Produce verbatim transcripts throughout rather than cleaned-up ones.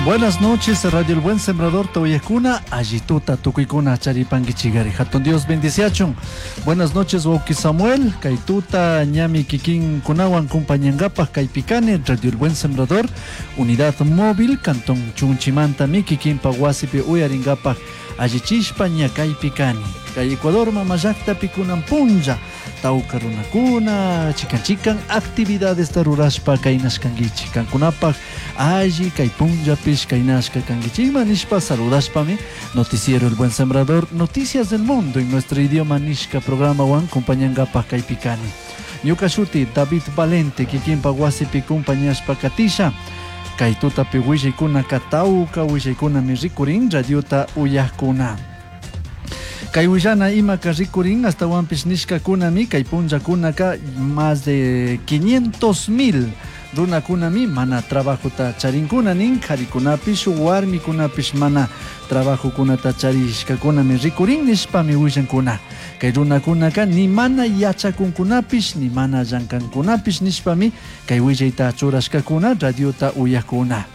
Buenas noches, Radio El Buen Sembrador, Toyakuna, Allituta, Tukuykuna, Charipanguichigari. Hatun Dios bendiciachun. Buenas noches, Wauki Samuel, Kaituta, Ñami Kikin Kunawan, Kumpañangapaj, Kaipicane, Radio El Buen Sembrador, Unidad Móvil, Cantón Chunchimanta, Miki Kimpa, Wasipi, Uyaringapaj, Allichishpa, Ña Kaipicani. Kay Ecuador, Mamallakta, Pikunan Punlla, Tauka runakuna, chikan chikan actividades rurashpa kaynashkankichik kankunapaj alli kay punllapish kaynashka kankichikman nishpa saludashpami Noticiero El Buen Sembrador, Noticias del Mundo en nuestro idioma nishka programawan kumpañangapaj kaypikani. Ñuka shuti David Valente kikinpa wasipi kumpañashpa katisha. Kay tutapi willaykunaka tawka willaykunami rikurin radiota uyajkuna. Kay willana imaka rikurin astawanpish nishkakunami kay punllakunaka más de quinientos mil runakunami mana trabajota charinkuna nin karikunapish warmikunapish mana trabajokunata charishkakunami rikurin nishpami willankuna. Kay runakunaka ni mana yachakunkunapish ni mana llankankunapish nishpami kay willayta churashkakuna radiota uyakuna.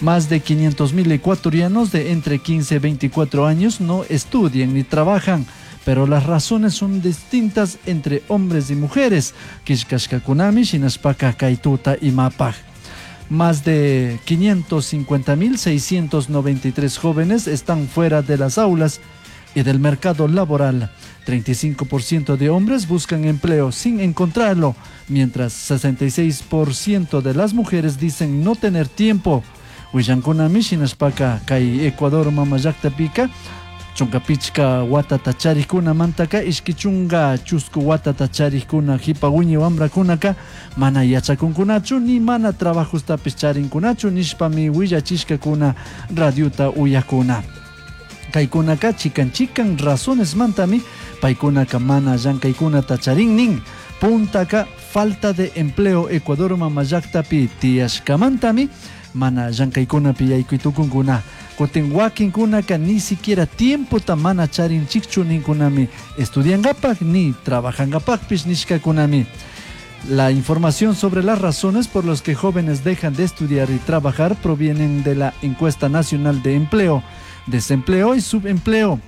Más de quinientos mil ecuatorianos de entre quince y veinticuatro años no estudian ni trabajan, pero las razones son distintas entre hombres y mujeres. Kishkashkakunami shinashpaka kaytuta imapaj. Más de quinientos cincuenta mil seiscientos noventa y tres jóvenes están fuera de las aulas y del mercado laboral. treinta y cinco por ciento de hombres buscan empleo sin encontrarlo, mientras sesenta y seis por ciento de las mujeres dicen no tener tiempo. Willankunami shinashpaka kay Ecuador mamallakta pika chunka pichka watata charikkunamantaka ishki chunka chusku watata charikkuna hipa wiñay wamrakunaka mana yachakunkunachu ni mana trabajostapis charinkunachu nishpami willachishkakuna radiota uyakuna. Kaykunaka chikan chikan razones mantami paykunaka mana llankaykunata charin nin. Puntaka falta de empleo Ecuador mamallaktapi tiyashkamantami mana llankaykunapi yaykuytukunkuna. Kutin wakinkunaka ni siquiera tiempota mana charinchikchu ninkunami estudiankapaj ni trabajankapajpish nishkakunami. La información sobre las razones por las que jóvenes dejan de estudiar y trabajar provienen de la Encuesta Nacional de Empleo, Desempleo y Subempleo.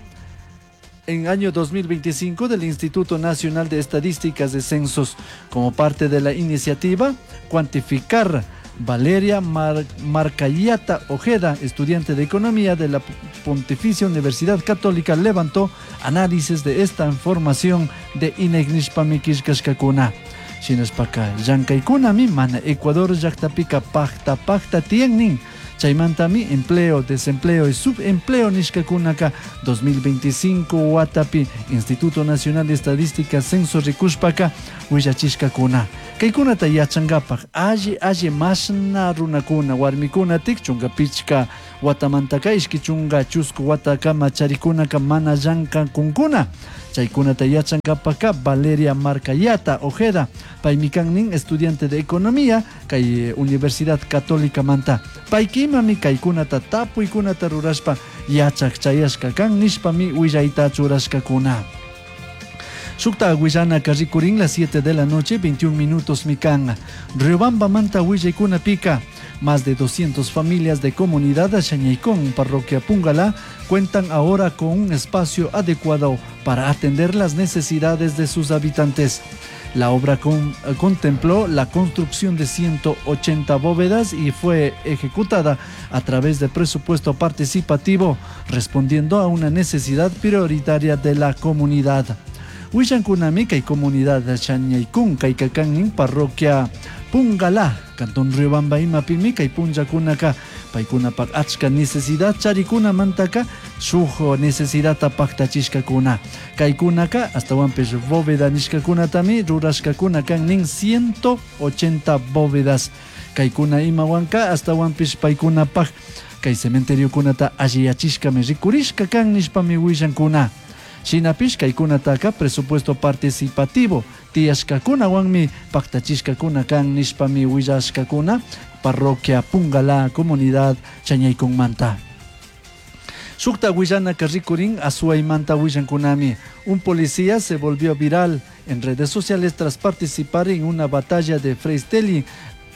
En año dos mil veinticinco del Instituto Nacional de Estadísticas de Censos, como parte de la iniciativa Cuantificar, Valeria Mar-, Marcayata Ojeda, estudiante de Economía de la Pontificia Universidad Católica, levantó análisis de esta información de I N E C nishpami killkashkakuna. Shinashpaka llankaykunami mana Ecuador llaktapika pakta pakta tiyan nin. Chaymantami empleo, desempleo y subempleo nishkakunaka dos mil veinticinco watapi Instituto Nacional de Estadística Censo rikushpaka willachishkakuna. Kaykunata yachankapak alli alli mashna runakuna warmikuna tik chunka pichka watamantaka ishki chunka chusku watakama charikunaka mana llankakunkuna. Chaykunata yachankapaka Valeria Marcayata Ojeda, paymi kan nin estudiante de Economía kay Universidad Católica manta. Paykimami kaykunata tapuykunata rurashpa yachak chayashka kan nishpami willayta churashkakuna. Shukta willanaka rikurin las siete de la noche, veintiún minutos mikan. Riobamba manta willaykuna pika. Más de doscientas familias de comunidad Shañaicón, parroquia Pungalá, cuentan ahora con un espacio adecuado para atender las necesidades de sus habitantes. La obra con, contempló la construcción de ciento ochenta bóvedas y fue ejecutada a través de presupuesto participativo, respondiendo a una necesidad prioritaria de la comunidad. Willankunami kay comunidad Shañaicún, kay Kakannin, parroquia Pungalá, cantón Riobamba imapimi kay punllakunaka paykunapak achka necesidad charikuna mantaka shuk necesidadta paktachishkakuna. Kaykunaka astawanpish bóveda nishkakunatami rurashkakuna kan nin ciento ochenta bóvedas. Kaykuna imawanka astawanpish paykunapak kay cementeriokunata alliyachishkami rikurishka kan nishpami willankuna. Shinapish kaykunataka presupuesto participativo tiyashkakunawanmi paktachishkakuna kan nishpami willashkakuna parroquia Pungalá comunidad Chañaykunmanta. Shukta willanaka rikurin Azuaymanta willankunami. Un policía se volvió viral en redes sociales tras participar en una batalla de freestyle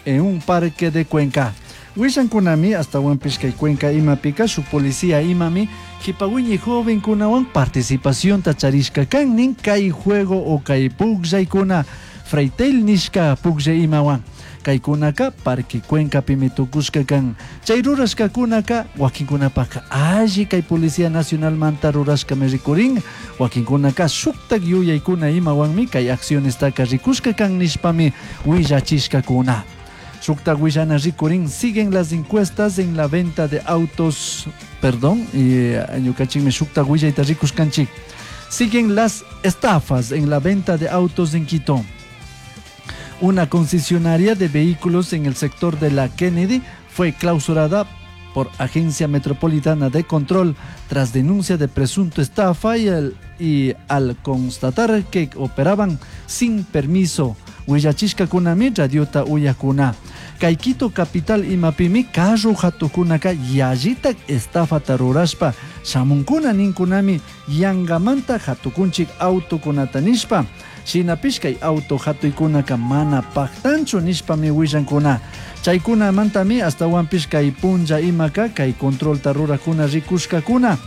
en un parque de Cuenca. Willankunami astawanpish kay Cuenca imapika shuk policía imami jipawiñi jovenkunawan participacionta charishka kan nin kay juego o kay pukllaykuna Freitel nishka pukllay imawan kaykunaka Parque Cuencapimi tukushka kan chay rurashkakunaka wakinkunapaka alli kay Policía Nacionalmanta rurashkami rikurin wakinkunaka shuktak yuyaykuna imawanmi kay accionestaka rikushka kan nishpami willachishkakuna. Shuktak willana rikurin siguen las encuestas en la venta de autos, perdón, y ñukanchikmi shuktak willayta rikushkanchik. Siguen las estafas en la venta de autos en Quito. Una concesionaria de vehículos en el sector de la Kennedy fue clausurada por Agencia Metropolitana de Control tras denuncia de presunto estafa y, el, y al constatar que operaban sin permiso. Willachishkakunami radiota uyakuna. Kay Quito capital imapimi carro hatukunaka yallitak estafata rurashpa shamunkuna ninkunami yangamanta hatukunchik autokunata nishpa. Shinapish kay auto hatuykunaka mana paktanchu nishpami willankuna. Chaykunamantami astawanpish kay punlla imaka kay controlta rurakuna rikushkakuna.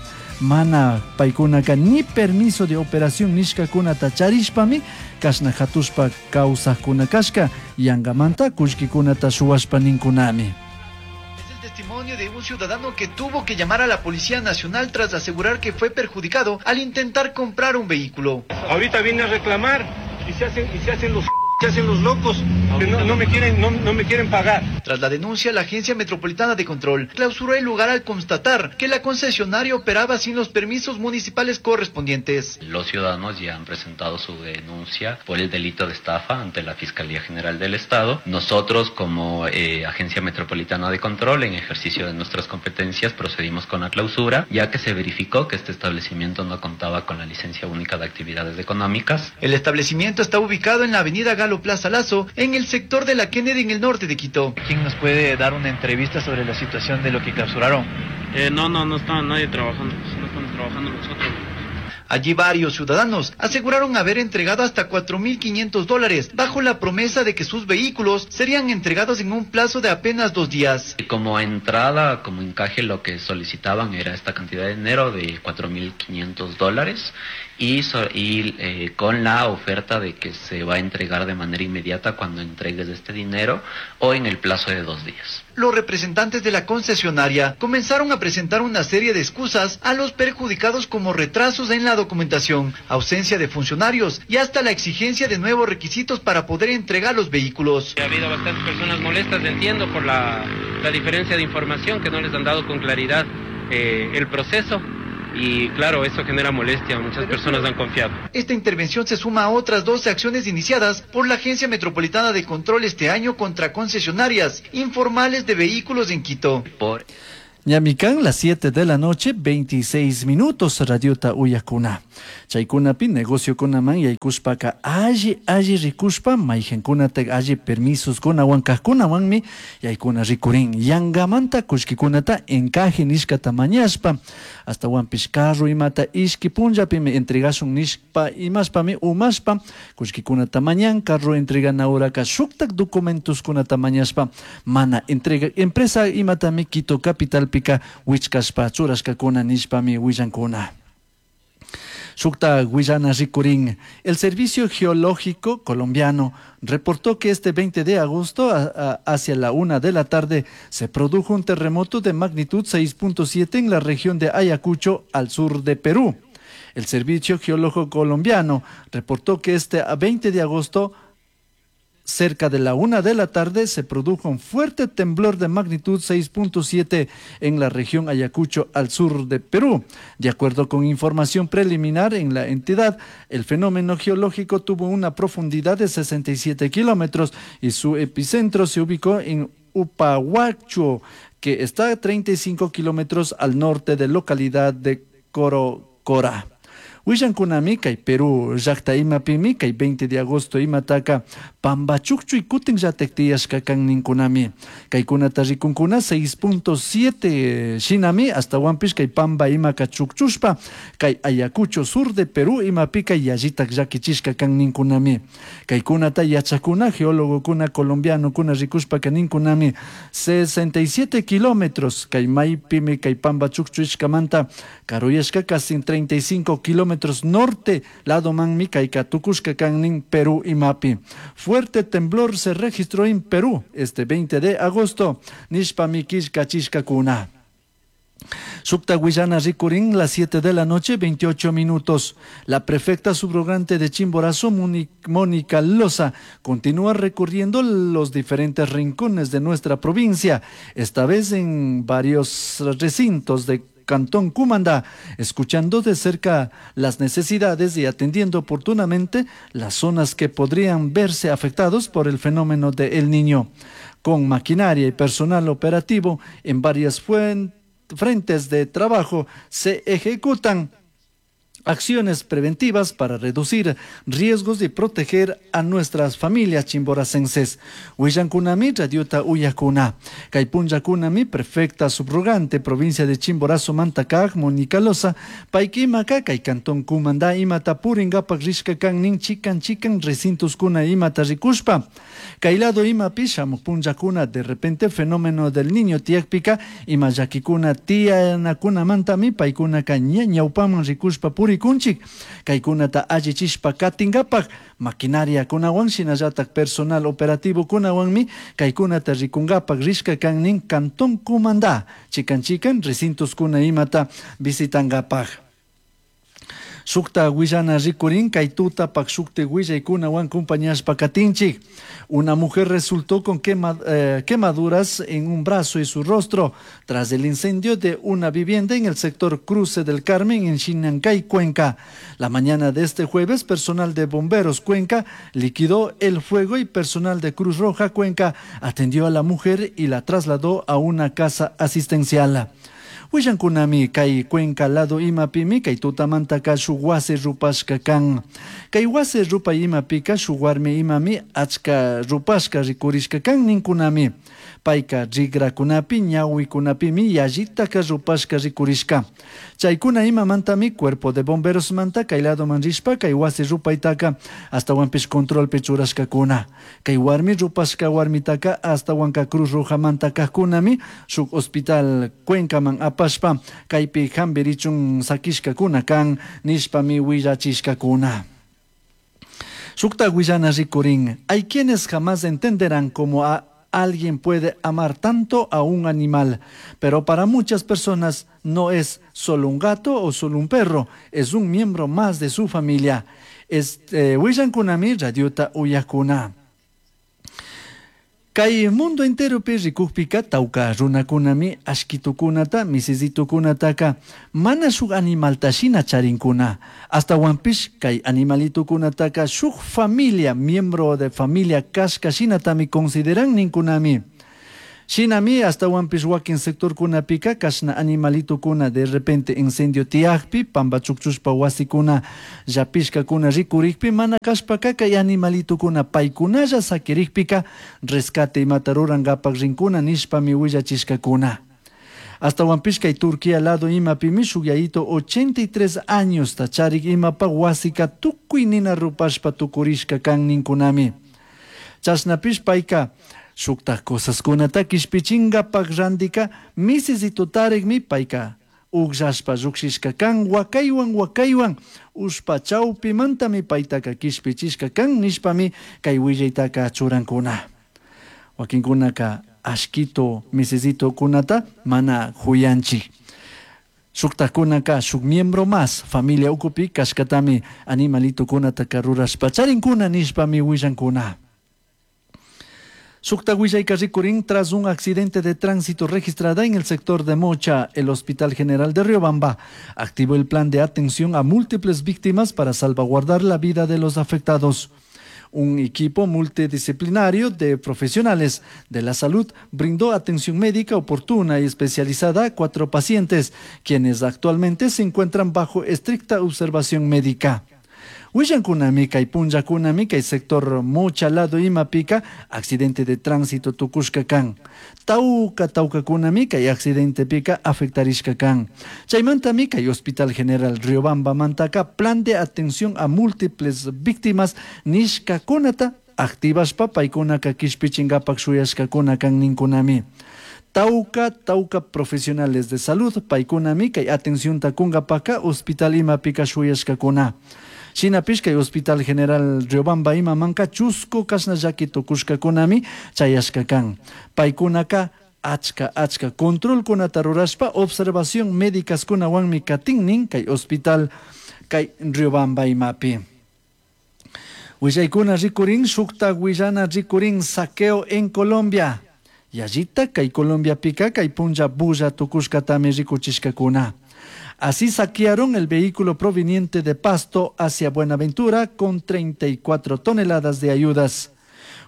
Mana paykunaka ni permiso de operación nishkakunata charishpami kashna hatushpa kawsakuna kashka yangamanta kullkikunata shuwashpa ninkunami. Es el testimonio de un ciudadano que tuvo que llamar a la Policía Nacional tras asegurar que fue perjudicado al intentar comprar un vehículo. Ahorita viene a reclamar y se hacen, y se hacen los se hacen los locos que no, no me quieren, no, no me quieren pagar. Tras la denuncia, la Agencia Metropolitana de Control clausuró el lugar al constatar que la concesionaria operaba sin los permisos municipales correspondientes. Los ciudadanos ya han presentado su denuncia por el delito de estafa ante la Fiscalía General del Estado. Nosotros, como eh, Agencia Metropolitana de Control, en ejercicio de nuestras competencias, procedimos con la clausura, ya que se verificó que este establecimiento no contaba con la licencia única de actividades económicas. El establecimiento está ubicado en la avenida Galo Plaza Lazo, en el sector de la Kennedy, en el norte de Quito. ¿Quién nos puede dar una entrevista sobre la situación de lo que clausuraron? Eh, no, no, no está nadie trabajando, no estamos trabajando nosotros. Allí varios ciudadanos aseguraron haber entregado hasta cuatro mil quinientos dólares bajo la promesa de que sus vehículos serían entregados en un plazo de apenas dos días. Como entrada, como encaje, lo que solicitaban era esta cantidad de dinero de cuatro mil quinientos dólares y, so, y eh, con la oferta de que se va a entregar de manera inmediata cuando entregues este dinero o en el plazo de dos días. Los representantes de la concesionaria comenzaron a presentar una serie de excusas a los perjudicados como retrasos en la documentación, ausencia de funcionarios y hasta la exigencia de nuevos requisitos para poder entregar los vehículos. Ha habido bastantes personas molestas, entiendo, por la, la diferencia de información que no les han dado con claridad eh, el proceso. Y claro, eso genera molestia, muchas personas han confiado. Esta intervención se suma a otras doce acciones iniciadas por la Agencia Metropolitana de Control este año contra concesionarias informales de vehículos en Quito. Por Ñamicán, las siete de la noche, veintiséis minutos, radiota uyakuna. Chaykunapi negocio kunaman yaykushpaka alli alli rikushpa mayqinkunata alli permisos kunawan kaqkunawanmi yaykuna rikurin. Yangamanta kullkikunata encaje nishkata mañashpa astawanpish carro imata ishki punllapimi entregashun nishpa imashpami umashpa kullkikunata mañan carro entregana horaka shuktak documentoskunata mañashpa mana entrega empresa imatami Quito Capital pika wichkashpa churashkakuna nishpami willankuna. Shukta Guayana rikurin. El Servicio Geológico Colombiano reportó que este veinte de agosto a, a, hacia la una de la tarde se produjo un terremoto de magnitud seis punto siete en la región de Ayacucho, al sur de Perú. El Servicio Geológico Colombiano reportó que este veinte de agosto, cerca de la una de la tarde, se produjo un fuerte temblor de magnitud seis punto siete en la región Ayacucho, al sur de Perú. De acuerdo con información preliminar en la entidad, el fenómeno geológico tuvo una profundidad de sesenta y siete kilómetros y su epicentro se ubicó en Upahuacho, que está a treinta y cinco kilómetros al norte de la localidad de Corocora. Willankunami kay Perú llaqta imapimi kay veinte de agosto imataka pambachukchuy kutin llatak tiyashka kan ninkunami. Kaykunata rikunkuna seis punto siete shinami hasta kay pamba imaka chukchushpa kay Ayacucho sur de Perú imapika yallitak llakichishka kan ninkunami. Kaykunata yachakuna geólogokuna colombianokuna rikushpaka ninkunami sesenta y siete kilómetros kay maypimi kay pamba chukchushkamanta karuyashka casi treinta y cinco kilómetros norte lado manmi kayka tukushka kan nin Perú imapi. Fuerte temblor se registró en Perú este veinte de agosto nishpami killkachishkakuna. Sukta Guillana rikurin, las siete de la noche, veintiocho minutos. La prefecta subrogante de Chimborazo, Mónica Loza, continúa recorriendo los diferentes rincones de nuestra provincia, esta vez en varios recintos de Cantón Cumandá, escuchando de cerca las necesidades y atendiendo oportunamente las zonas que podrían verse afectados por el fenómeno de El Niño. Con maquinaria y personal operativo en varias fuentes, frentes de trabajo se ejecutan acciones preventivas para reducir riesgos y proteger a nuestras familias chimboracenses. Willankunami, radiota uyakuna. Kay punllakunami, prefecta subrogante, provincia de Chimborazo, Mantakaj, Mónica Loza, paykimaka, kay cantón Cumandá, imata puringapak rishka kan nin chikan chikan recintos kuna imata rikushpa. Kay lado imapi shamuq punllakuna, de repente fenómeno del niño tiakpika, ima llakikuna tianakunamantami, paykunaka ña ñawpaman rikushpa puri kunchik, kaykunata allichishpa katingapak, maquinaria kunawan shinallatak personal operativo kunawanmi kaykunata rikungapak rishka kan nin Cantón Cumandá, chikan chikan recintos kuna imata visitangapak. Sukta Guillana rikurin, kay tutapak sukti willaykunawan compañashpa katinchik. Una mujer resultó con quema, eh, quemaduras en un brazo y su rostro tras el incendio de una vivienda en el sector Cruce del Carmen en Xinancay, Cuenca. La mañana de este jueves, personal de Bomberos Cuenca liquidó el fuego y personal de Cruz Roja Cuenca atendió a la mujer y la trasladó a una casa asistencial. Willankunami kay Cuenca lado imapimi kay tutamantaka shuk wasi rupashka kan. Kay wasi rupay imapika shuk warmi imami achka rupashka rikurishka kan ninkunami. Payka rigrakunapi ñawikunapimi yallitaka rupashka rikurishka. Chaykuna imamantami cuerpo de bomberos manta kay ladoman rishpa kay wasi rupaytaka astawanpish controlpi churashkakuna. Kay warmi rupashka warmitaka astawanka Cruz Roja manta kajkunami shuk hospital Cuencaman apashpa kaypi hambirichun sakishkakuna kan nishpami willachishkakuna. Sukta Guillana rikurin, hay quienes jamás entenderán cómo a alguien puede amar tanto a un animal, pero para muchas personas no es solo un gato o solo un perro, es un miembro más de su familia. Este, willankunami radiota uyakuna. Kay mundo enteropi rikukpika tawka runakunami ashkitukunata misisitukunataka mana shuk animalta shina charinkuna. Astawanpish kay animalitukunataka shuk familia, miembro de familia kashka shinatami consideran ninkunami. Shinami astawanpish wakin sectorkunapika kashna animalitukuna de repente incendio tiyakpi pamba chukchushpa wasikuna llapishkakuna rikurikpi mana kashpaka kay animalitukuna paykunalla sakirikpika rescate imata rurankapak rinkuna nishpami willachishkakuna. Astawanpish kay Turquía lado imapimi shuk yayito ochenta y tres años charik imapa wasika tukuy nina rupashpa tukurishka kan ninkunami. Chashnapish payka shuktaj cosaskunata kishpichinkapak randika misisitutarikmi payka ukllashpa llukshishka kan wakaywan wakaywan ushpa chawpimantami paytaka kishpichishka kan nishpami kay willaytaka churankuna. Wakinkunaka ashkito misisitukunata mana huyanchik. Shuktajkunaka shuk miembro más familia ukupi kashkatami animalitukunataka rurashpa charinkuna nishpami willankuna. Sukta willayka rikurin tras un accidente de tránsito registrada en el sector de Mocha, el Hospital General de Riobamba activó el plan de atención a múltiples víctimas para salvaguardar la vida de los afectados. Un equipo multidisciplinario de profesionales de la salud brindó atención médica oportuna y especializada a cuatro pacientes, quienes actualmente se encuentran bajo estricta observación médica. Willankunami kay punllakunami kay sector Mocha lado imapika accidente de tránsito tukushka kan. Tauka taukakunami kay accidentepika afectarishka kan. Chaymantami kay Hospital General Riobamba mantaka plan de atención a múltiples víctimas nishkakunata activashpa paykunaka kishpichinkapak shuyashkakuna kan ninkunami. Tauka, tauka profesionales de salud paykunami kay atención kunkapaka hospital imapika shuyashkakuna. Shinapish kay Hospital General Riobamba imamanka chusku kashna llaki tukushkakunami chayashka kan. Paykunaka achka achka controlkunata rurashpa observación médicaskunawanmi katinnin kay hospital kay Riobamba imapi. Willaykuna rikurin shukta willana rikurin saqueo en Colombia. Yallita kay Colombiapika kay punlla bulla tukushkatami rikuchishkakuna. Así saquearon el vehículo proveniente de Pasto hacia Buenaventura con treinta y cuatro toneladas de ayudas.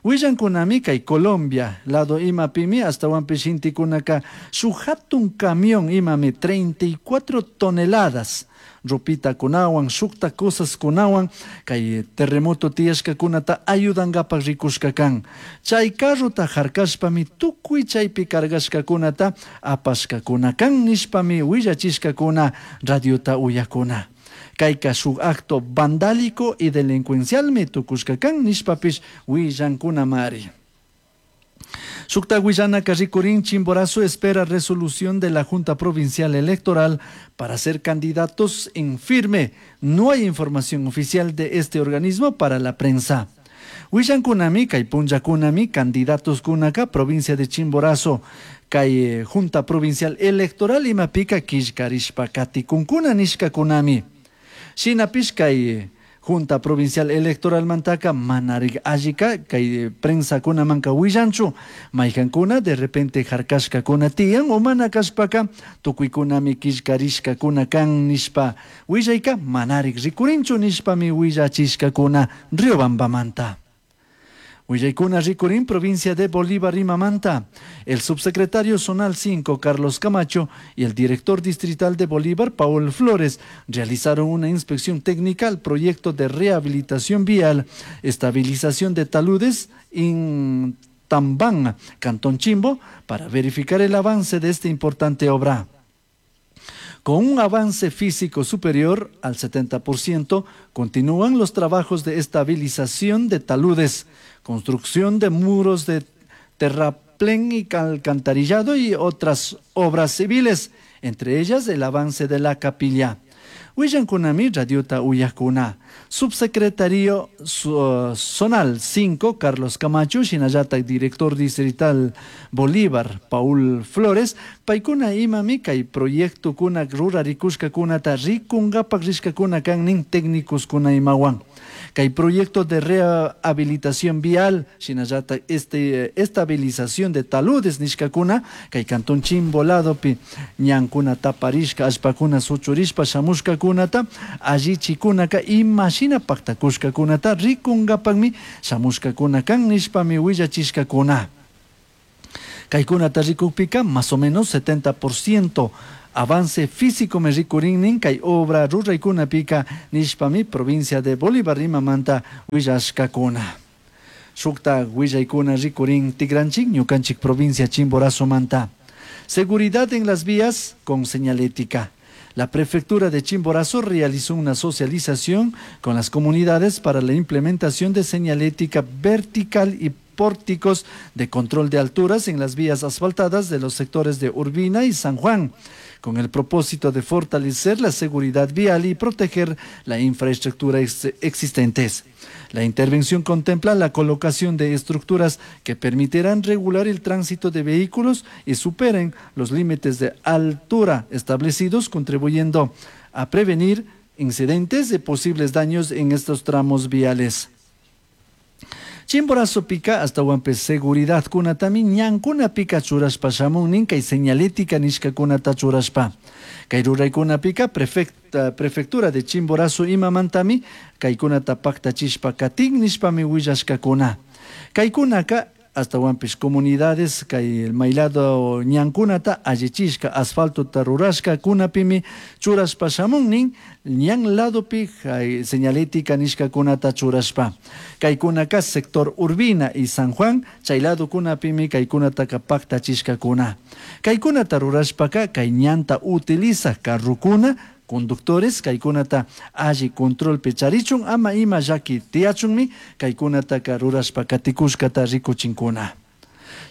Willankunami kay Colombia, lado imapimi hasta huampishintikunaka shuk hatun camión imami treinta y cuatro toneladas. Ropita kunawan, shukta cosas kunawan, kay terremoto tiyashkakunata ayudankapak rikushka kan. Chay carrota harkashpami tukuy chaypi cargashkakunata apashkakuna kan nishpami willachishkakuna radiota uyakuna. Kayka shuk acto vandálico y delincuencialmi tukushka kan nishpapish willankunamari. Shukta willanaka rikurin Chimborazo espera resolución de la Junta Provincial Electoral para ser candidatos en firme. No hay información oficial de este organismo para la prensa. Willankunami, kay punllakunami, candidatos kunaka, provincia de Chimborazo, kay Junta Provincial Electoral imapika killkarishpa katikunkuna nishkakunami. Shinapish kay Junta Provincial Electoral mantaka manarik allika kay prensa kunamanka willanchu mayhankuna de repente harkashkakuna tiyan o mana kashpaka tukuykunami killkarishkakuna kan nishpa willayka manarik rikurinchu nishpami willachishkakuna Riobambamanta. Willaykuna rikurin provincia de Bolívar imamanta. El subsecretario zonal cinco, Carlos Camacho, y el director distrital de Bolívar, Paul Flores, realizaron una inspección técnica al proyecto de rehabilitación vial, estabilización de taludes en Tambán, Cantón Chimbo, para verificar el avance de esta importante obra. Con un avance físico superior al setenta por ciento, continúan los trabajos de estabilización de taludes, construcción de muros de terraplén y alcantarillado y otras obras civiles, entre ellas el avance de la capilla. Willankunami radiota uyakuna. Subsecretario zonal cinco, Carlos Camacho, shinallata director distrital Bolívar, Paul Flores, paykuna imami kay proyecto kuna rurarikushkakunata rikungapak rishkakuna kannin técnicos kuna imawan. Kay proyecto de rehabilitación vial, shinallata este, estabilización de taludes nishkakuna, kay cantón Chimbo ladopi ñankuna taparishka, allpakuna suchurishpa shamushkakunata, allichikunaka imashina paktakushkakunata rikunkapakmi shamushkakuna kan nishpami willachishkakuna. Kaykunata rikukpika más o menos setenta por ciento avance físico me rikurinnin kay obra ruraykunapika nishpami provincia de Bolívar rimamanta willashkakuna. Shukta willaykuna rikurin tigranchik ñukanchik provincia Chimborazo manta. Seguridad en las vías con señalética. La prefectura de Chimborazo realizó una socialización con las comunidades para la implementación de señalética vertical y pórticos de control de alturas en las vías asfaltadas de los sectores de Urbina y San Juan, con el propósito de fortalecer la seguridad vial y proteger la infraestructura ex- existentes. La intervención contempla la colocación de estructuras que permitirán regular el tránsito de vehículos y superen los límites de altura establecidos, contribuyendo a prevenir incidentes y posibles daños en estos tramos viales. Chimborazopika ashtawanpish seguridadkunatami ñankunapika churashpa shamun nin kay señalética nishkakunata churashpa. Kay ruraykunapika prefecta, prefectura de Chimborazo imamantami kaykunata paktachishpa katin nishpami willashkakuna. Kaykunaka ashtawanpish comunidades kay maylado ñankunata allichishka asfaltota rurashka kunapimi churashpa shamun nin ñan ladopi señalética nishkakunata churashpa. Kaykunaka sector Urbina y San Juan chay ladokunapimi kaykunataka paktachishkakuna. Kaykunata rurashpaka kay ñanta utiliza carrokuna conductores kaykunata alli controlpi charichun ama ima llaki tiyachunmi kaykunataka rurashpa katikushkata rikuchinkuna.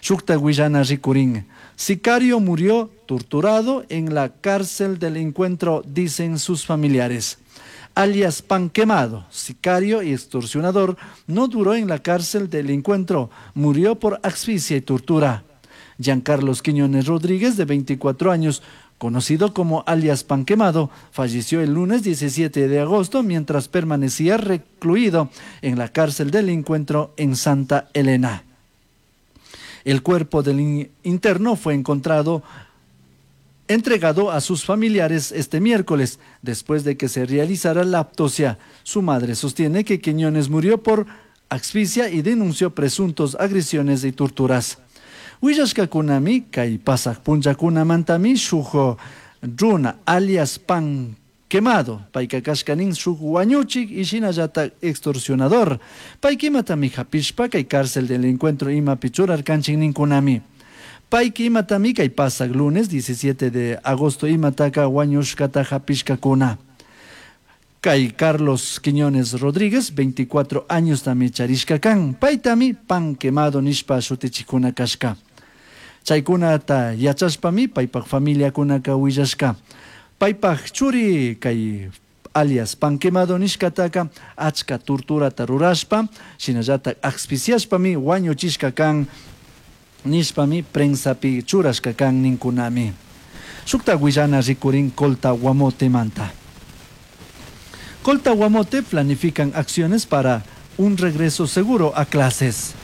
Shukta willana rikurin. Sicario murió torturado en la cárcel del encuentro, dicen sus familiares. Alias Pan Quemado, sicario y extorsionador, no duró en la cárcel del encuentro, murió por asfixia y tortura. Giancarlos Quiñones Rodríguez, de veinticuatro años, conocido como alias Pan Quemado, falleció el lunes diecisiete de agosto mientras permanecía recluido en la cárcel del encuentro en Santa Elena. El cuerpo del interno fue encontrado entregado a sus familiares este miércoles, después de que se realizara la autopsia. Su madre sostiene que Quiñones murió por asfixia y denunció presuntos agresiones y torturas. Willashkakunami kay pasaq punllakunamantami shuk runa alias Pan Quemado, payka kashka nin shuk wañuchik y shinallatak extorsionador. Payka imatami hapishpa kay cárcel del encuentro imapi churarkanchik ninkunami. Payka imatami kay pasaq lunes diecisiete de agosto imataka wañushkata hapishkakuna. Kay Carlos Quiñones Rodríguez, veinticuatro años tami charishka kan, paytami Pan Quemado nishpa shutichikuna kashka. Chaykunata yachashpami paypak familiakunaka willashka. Paypak churi kay alias Pan Quemado nishkataka achka torturata rurashpa, shinallatak asfixiashpami wañuchishka kan nishpami prensapi churashka kan ninkunami. Shukta willana rikurin Colta Guamotemanta. Colta Guamote planifican acciones para un regreso seguro a clases.